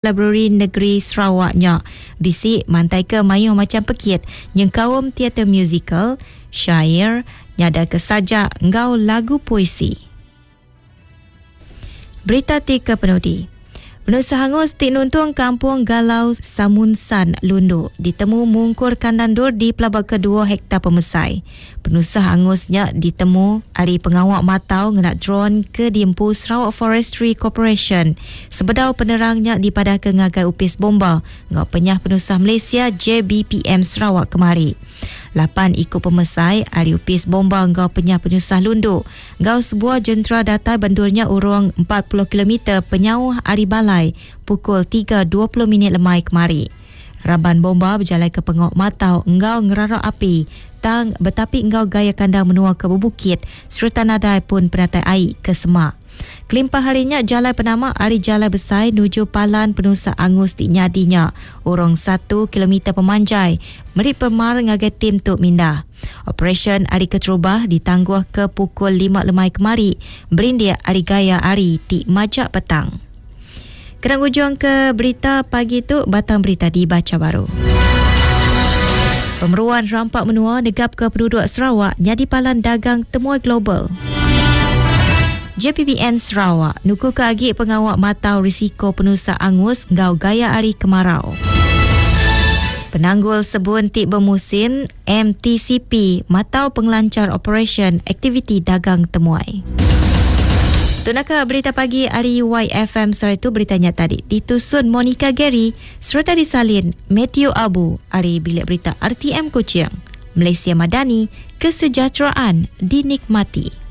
Library Negeri Sarawak nya bisi mantaika mayuh macham pekit nyengkaum teater muzikal, syair, nyadaka sajak enggau lagu puisi. Berita ti kepenudi. Penusah angus ti nuntung Kampung Galau Samunsan, Lundu ditemu mungkur kandang endur di pelaba kedua hektar pemesai. Penusah angus nya ditemu ari pengawa matau ngena dron ke diempu Sarawak Forestry Corporation sebedau penerang nya dipadahka ngagai Opis Bomba enggau Penyah Penusah Malaysia, JBPM, Sarawak kemari. Lapan iku pemesai ari Opis Bomba enggau Penyah Penusah Lundu enggau sebuah jentera datai ba endur nya urung 40 kilometer penyauh ari balai pukul 3.20 minit lemai kemari. Raban bomba bejalaika pengawa matau enggau ngerara api tang betapi enggau gaya kandang menua ke bebukit sereta nadai pun penatai ai ke semak. Kelimpah ari nya jalai penama ari jalai besai nuju palan penusah angus ti nyadi nya urung satu kilometer pemanjai meri pemar ngagai tim tu mindah. Operasyen ari keterubah ditangguhka pukul lima lemai kemari berindik ari gaya hari ti majak petang. Kena ngujungka berita pagi tu, batang berita dibacha baru. Pemeruan rampa menua negapka penduduk Sarawak nyadi palan dagang temuai global. JPBN Sarawak nukuka agi pengawa matau risiko penusah angus enggau gaya hari kemarau. Penanggul sebun ti bemusim MTCP matau pengelanchar operasyen aktiviti dagang temuai. Tu naka berita pagi ari YFM sehari tu berita nya tadi ditusun Monica Gary sereta disalin Matthew Abu ari Bilik Berita RTM Kuching. Malaysia Madani, kesejahteraan dinikmati.